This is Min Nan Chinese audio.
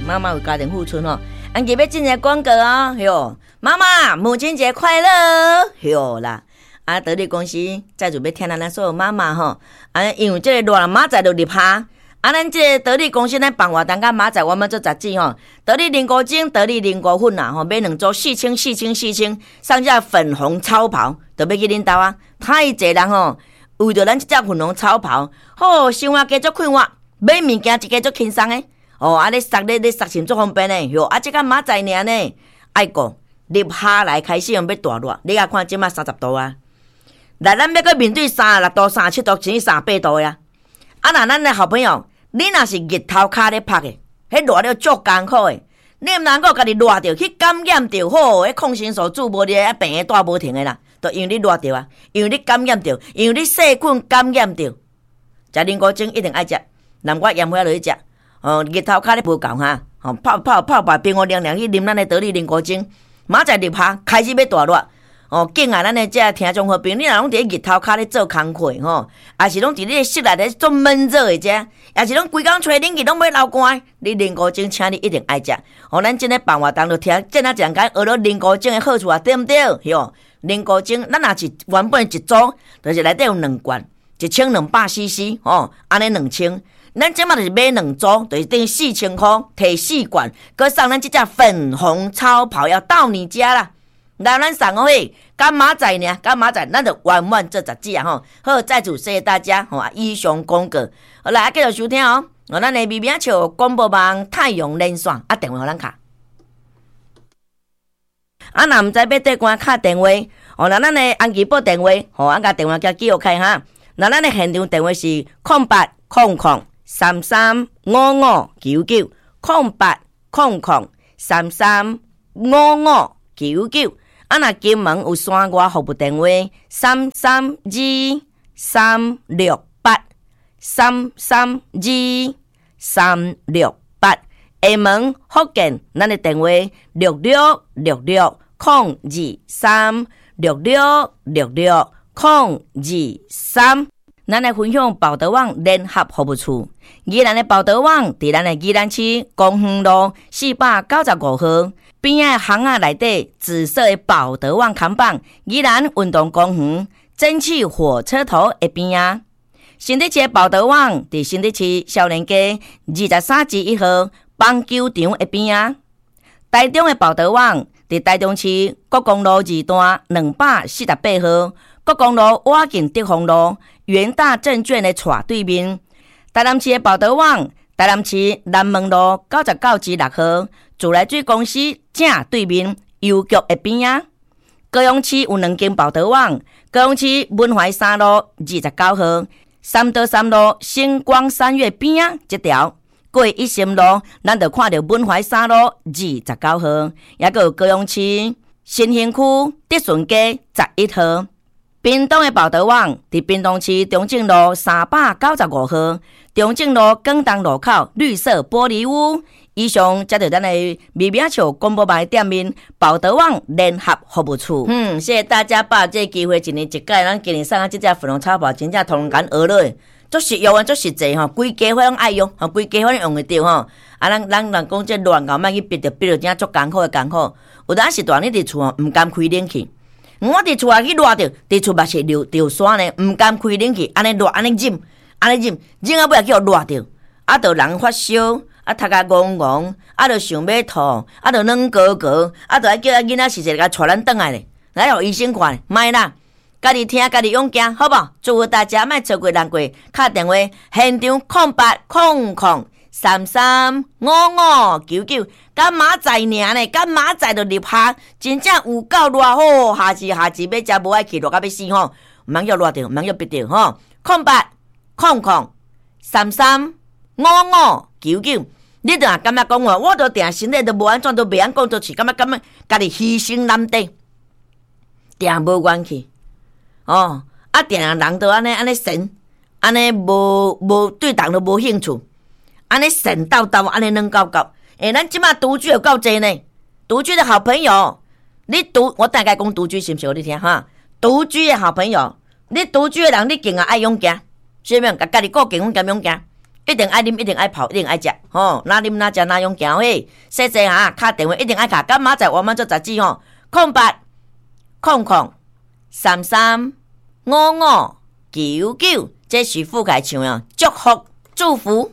媽媽為家庭付出吼。按今欲進行廣告哦，喲，媽媽母親節快樂，喲啦！啊，得力公司再準備聽咱所有媽媽吼，啊，因為這個熱明仔載就入夏。啊，咱這個得力公司咱辦活動佮明仔載我們做雜誌吼，得力靈菇精、得力靈菇粉啊吼，買兩組四千、四千、四千，送這粉紅超跑，就欲去恁兜啊！太濟人吼，為著咱這隻粉紅超跑，吼，生活加足快活，買物件一家足輕鬆的。哦，啊，咧殺咧咧殺錢足方便的，喲，啊，這個明仔載爾呢，愛講入夏來開始用欲大熱，你共看這馬30度啊，來咱欲閣面對36度、37度，甚至38度的啊！啊，若咱的好朋友，你若是日頭跤咧曝的，彼熱了足艱苦的，你毋通閣家己熱著去感染著，吼，彼抗生素注無咧，啊，病的帶無停的啦，就因為你熱著啊，因為你感染著，因為你細菌感染著，食靈菇精一定愛食，南瓜鹽花落去食，哦，日頭跤咧無夠哈，哦，泡泡泡白冰冰涼涼去啉咱的得力靈菇精，明仔載入夏開始欲大熱。哦，敬愛咱的這聽眾好朋友，你若攏佇咧日頭跤咧做工課吼，抑是攏佇咧室內咧做悶熱的遮，抑是攏規工吹冷氣攏欲流汗，你靈菇精，請你一定愛食。哦，咱這个辦活動就聽，這若一人共學了靈菇精的好處啊，對毋對？喲，靈菇精，咱若是原本一組，就是內底有兩罐，1200 CC，吼，按呢兩千。咱這馬就是買兩組，就是等於4000箍，提四罐，閣送咱這隻粉紅超跑要到你家啦。來，咱送予彼，佮明仔載爾，佮明仔載，咱就圓滿做雜誌啊吼。好，再次謝謝大家吼，以上廣告，好來，繼續收聽哦。哦，咱的微微仔笑廣播網太陽連線啊，電話予咱敲。啊，若毋知欲綴關敲電話，哦，那咱的安吉撥電話，吼，按共電話共記錄開哈。那咱的現場電話是0800335599，0800335599。啊，若金門有山外服務電話，332368，332368。廈門福建，咱的電話6666023，6666023。咱來分享寶德網聯合服務處，宜蘭的寶德網佇咱的宜蘭市公園路495號邊仔巷仔內底紫色的寶德網扛棒，宜蘭運動公園蒸汽火車頭的邊仔。新竹市的寶德網佇新竹市少年街23之1號棒球場的邊仔。台中的寶德網佇台中市國光路二段248號，國光路倚近德豐路元大證券的斜對面。台南市的寶德網，台南市南門路99之6號，自來水公司正對面郵局的邊仔。高雄市有兩間寶德網，高雄市文懷三路29號，三多三路星光三月邊仔這條。過一心路，咱就看著文懷三路29號，抑閣有高雄市新興區德順街11號。屏東的寶德網，佇屏東市中正路395號，中正路廣東路口綠色玻璃屋。以上這就咱的微微仔笑廣播網的店面寶德網聯合服務處。嗯，謝謝大家把這個機會一年一屆，咱今年送啊這隻粉紅超跑，真正通共學落，足實用啊，足實際吼，規家伙攏愛用，吼，規家伙攏用會著吼。啊，咱咱人講這亂搞，莫去逼著逼著，真正足艱苦的艱苦。有當時大你佇厝吼，毋甘開冷氣。我佇厝內去熱著，佇厝嘛是著著山呢，毋甘開冷氣，按呢熱，按呢忍，按呢忍，忍到尾仔去予熱著，啊，著人發燒，啊，頭殼戇戇，啊，著想欲吐，啊，著軟膏膏，啊，著愛叫囡仔時時共帶咱轉來咧，來予醫生看，莫啦，家己聽，家己勇行，好無？祝福大家莫錯過難過，敲電話現場0800335599，佮明仔載爾呢，佮明仔載就入夏，真正有夠熱吼！夏至夏至欲食無愛去，熱到欲死吼！毋通予熱著，毋通予逼著吼！0800335599，你著若感覺講話，我著定身體都無按怎，都袂曉講做事，感覺感覺家己犧牲難底，定無元氣哦！啊，定人都按呢按呢神，按呢無無對人都無興趣。按呢神叨叨，按呢軟厚厚。欸，咱這馬獨居有夠濟呢。獨居的好朋友，你獨我大概講獨居是毋是？予你聽哈。獨居的好朋友，你獨居的人，你更加愛勇行，是毋？共家己顧健康兼勇行。一定愛啉，一定愛泡，一定愛食，吼，若啉若食若用行嘿，細細哈，敲電話一定愛敲，佮明仔載我們做雜誌吼，0800335599，這是傅凱唱的祝福祝福。